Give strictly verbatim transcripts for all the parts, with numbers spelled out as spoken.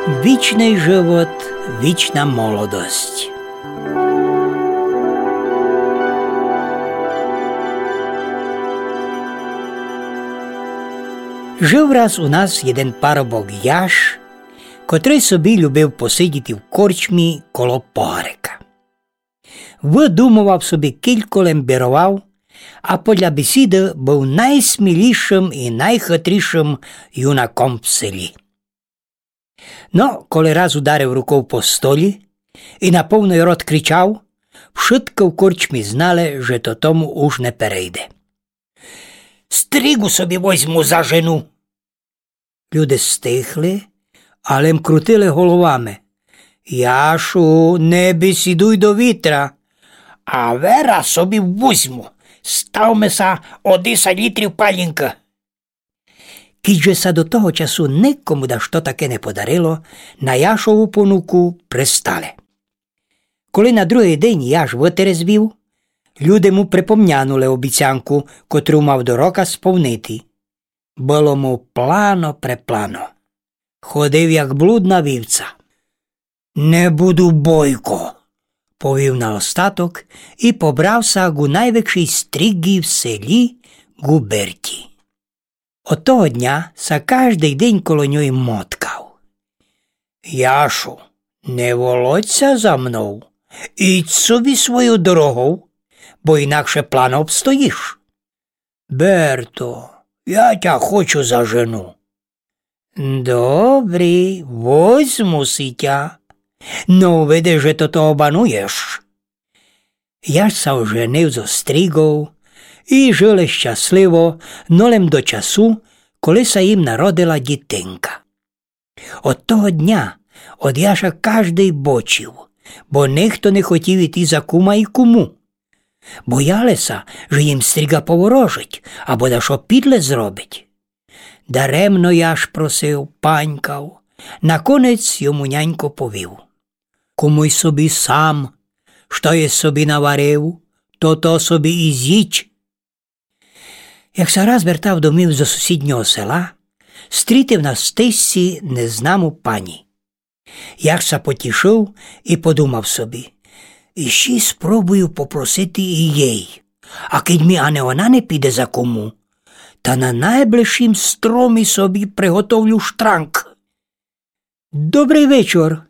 Вічный живот, вічна молодость. Жив раз у нас єден парубок Яш, котрый собі любив посидіти в корчмі коло погарика. Выдумовав собі, кілько лем біровав, а подля бесіды быв найсмілішым і найхытрішым юнаком в селі. Но, коли раз ударив руков по столі і на повный рот кричав, вшыткы в корчмі знали, же то тому уж не перейде. Стригу собі возьму за жену. Люде стихли, а лем крутили головами. Яшу, не бесідуй до вітра. А вера собі возьму. Ставме ся о десять літрів палінкы. Кідь же ся до того часу никому дашто таке не подарило, на Яшову понуку пристали. Коли на другый день Яш вытерезвів, люде му припомнянули обіцянку, котру мав до рока сповнити. Было му плано-преплано. Ходив, як блудна вівца. Не буду, бойко, повів на остаток і побрав ся гу найвекшій стріґі в селі, гу Берті. Од того дня ся каждый день коло ньой моткав. Яшу, не волочь ся за мнов, ідь собі свойов дорогов, бо інакше плано обстоїш. Берто, я тя хочу за жену. Добрі, возьму си тя. Но увиди, же то того бануєш. Яш ся оженив зо стріґов і жили щасливо, но лем до часу, коли ся їм народила дітинка. Од того дня од Яша каждый бочив, бо нихто не хотів іти за кума і куму. Бояли ся, же їм стріґа поворожить або дашто підле зробить. Даремно Яш просив, панькав. Наконець йому нянько повів: Кумуй собі сам, што єс собі наварив, то то собі і зїдь. Як ся раз вертав домів зо сусіднього села, стрітив на стежці незнаму пані. Яш ся потішив і подумав собі: Іщи спробую попросити і єй, а кідь мі ани она не піде за куму, та на найближшім стромі собі приготовлю штранґ. Добрый вечор,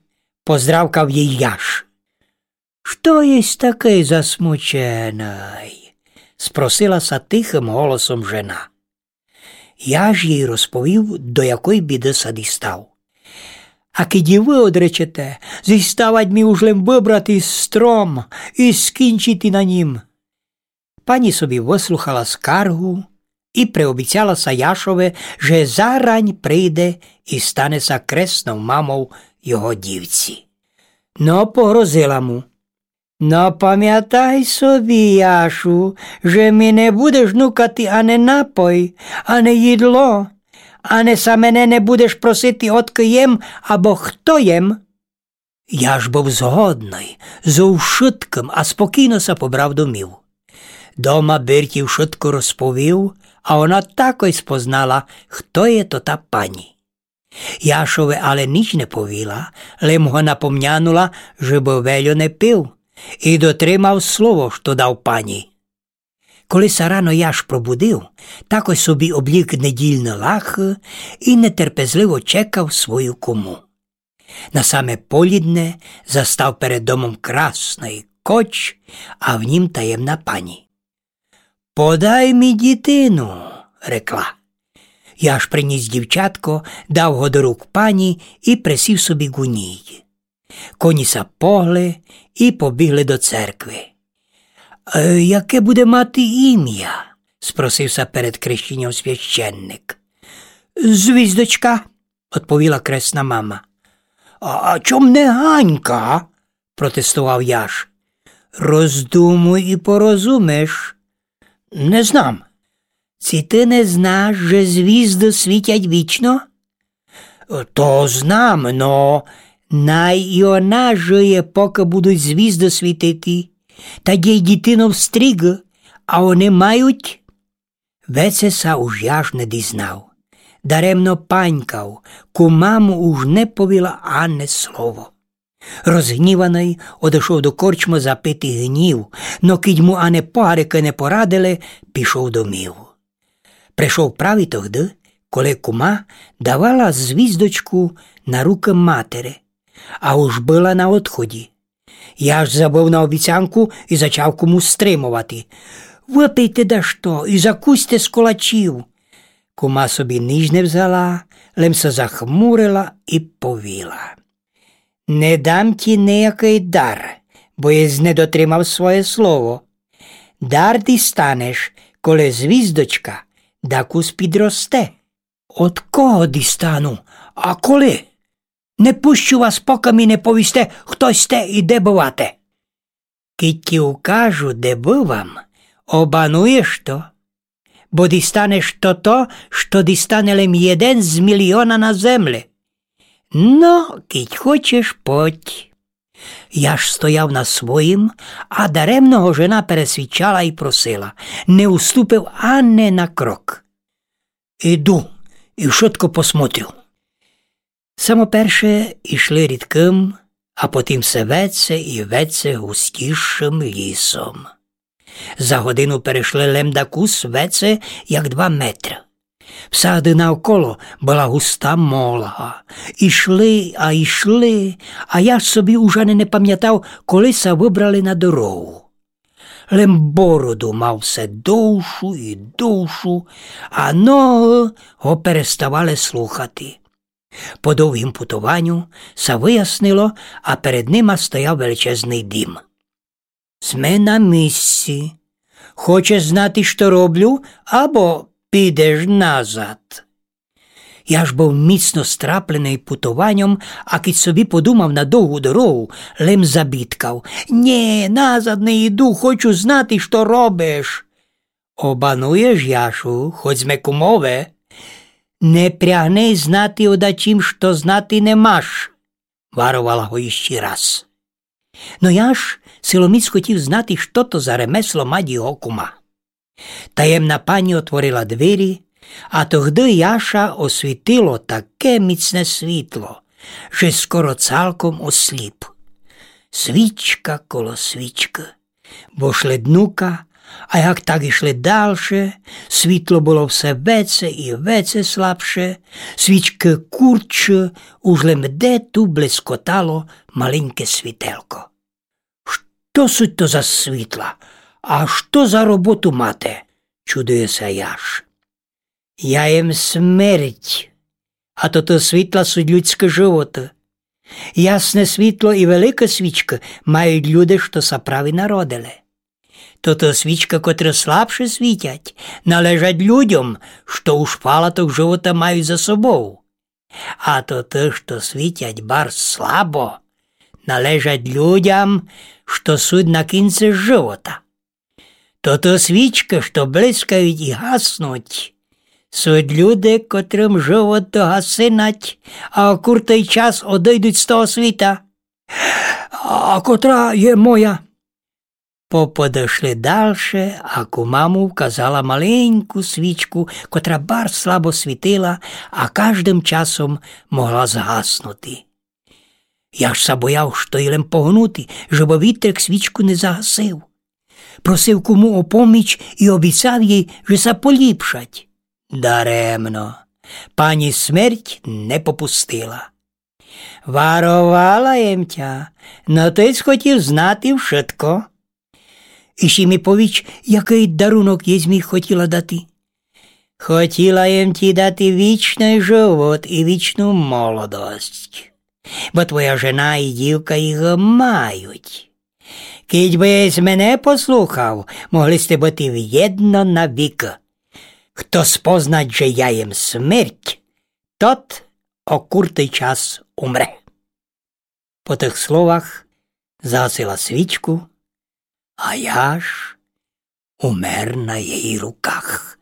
поздравкав єй Яш. Што єсь такый засмученый? Спросила ся тихым голосом жена. Яш єй розповів, до якой біды ся дістав. А кідь і вы одречете, зіставать мі уж лем выбрати стром і скінчити на нім. Пані собі выслухала скаргу і приобіцяла ся Яшови, же зарань прийде і стане ся креснов мамов його дівці. Но погрозила му: Но памятай собі, Яшу, же мі не будеш нукати ани напой, ани їдло, ани ся мене не будеш просити, одкы єм або хто єм. Яш быв згодный зо вшыткым а спокійно ся побрав домів. Дома Берті вшытко розповів, а она такой спознала, хто є то та пані. Яшови але ніч не повіла, лем го напомнянула, жебы вельо не пив і дотримав слово, што дав пані. Коли ся рано Яш пробудив, такой собі облік недільны лахы і нетерпезливо чекав свою куму. На саме полідне застав перед домом красный коч, а в нім таємна пані. Подай мі дітину, рекла. Яш приніс дівчатко, дав го до рук пані і присів собі ґу ній. Коні ся погли і побігли до церкви. Е, яке буде мати імя? Спросив ся перед крещеньом священник. Звіздочка, одповіла кресна мама. А, а чом не Ганька? Протестовав Яш. Роздумуй і порозумиш. Не знам. Ци ты не знаш, же звізды світять вічно? То знам, но най і она жиє, покы будуть звізды світити. Та дєй дітинов стріґы, а они мають. Веце ся уж Яш не дізнав. Даремно панькав, кума му уж не повіла ане слово. Розгніваный одошов до корчмы запити гнїв, но кідь му ане погарика не порадили, пішов домів. Пришов праві тогды, коли кума давала звіздочку на рукы матери, а уж была на одході. Яш забыв на обіцянку і зачав куму стримовати: «Выпийте дашто і закусьте з колачів». Кума собі нич не взяла, лем ся захмурила і повіла: «Не дам ті ниякый дар, бо єсь не дотримав своє слово. Дар дістанеш, коли звіздочка дакус підросте». «Од кого дістану? А коли? Не пущу вас, покы мі не повісте, хто сьте і де бывате». «Кідь ті укажу, де бывам, обануєш то, бо дістанеш тото, што дістане лем єден з міліона на земли. Но, кідь хочеш, подь». Яш стояв на своїм, а даремно го жена пересвідчала і просила. Не уступив ане на крок. «Іду і вшытко посмотрю». Самоперше ішли рідкым, а потім все веце і веце густішым лісом. За годину перешли лем дакус веце, як два метры. Всяды навколо была густа молга. Ішли а ішли, а Яш собі уж ани не памятав, коли ся выбрали на дорогу. Лем бороду мав все довшу і довшу, а ногы го переставали слухати. По довгім путованю ся выяснило, а перед нима стояв величезный дім. «Сме на місці. Хочеш знати, што роблю, або підеш назад?» Яш быв міцно страпленый путованьом, а кідь собі подумав на довгу дорогу, лем забідкав: «Нє, назад не йду, хочу знати, што робиш». «Обануєш, Яшу, хоть сме кумове». «Не прягни знати о дачім, што знати не маш», варовала го іщи раз. Но Яш силоміць хотів знати, што то за ремесло мать його кума. Таємна пані отворила двері, а тогды Яша освітило таке міцне світло, же скоро цалком осліп. Свічка коло свічкы. Бо шли днука, а як так ішли дальше, світло было все веце і веце слабше, свічкы куртше, уж лем де ту блескотало маленьке світелко. «Што суть то за світла? А што за роботу мате?» чудує ся Яш. «Я єм смерть, а тото світла суть людськы животы. Ясне світло і велика свічка мають люде, што ся праві народили. Тото свічка, котры слабше світять, належать людям, што уж фалаток живота мають за собов. А тото, што світять барз слабо, належать людям, што суть на кінци живота. Тото свічка, што блискають і гаснуть, суть люде, котрым живот догасинать, а о куртый час одыйдуть з того світа». «А котра є моя?» Поподошли дальше, а кума му вказала маленьку свічку, котра барз слабо світила, а каждым часом могла згаснути. Яш ся бояв, што ї лем погнути, жебы вітрик свічку не загасив. Просив куму о поміч і обіцяв єй, же ся поліпшать. Даремно. Пані смерть не попустила. Варовала єм тя, но ты схотів знати вшытко. Іщи мі повіч, якый дарунок єсь мі хотіла дати. Хотіла єм ті дати вічный живот і вічну молодость. Бо твоя жена і дівка їх мають. Кідь бы єсь мене послухав, могли сте быти вєдно навікы. Хто спознать, же я єм смерть, тот о куртый час умре. По тых словах загасила свічку, а Яш умер на єй руках.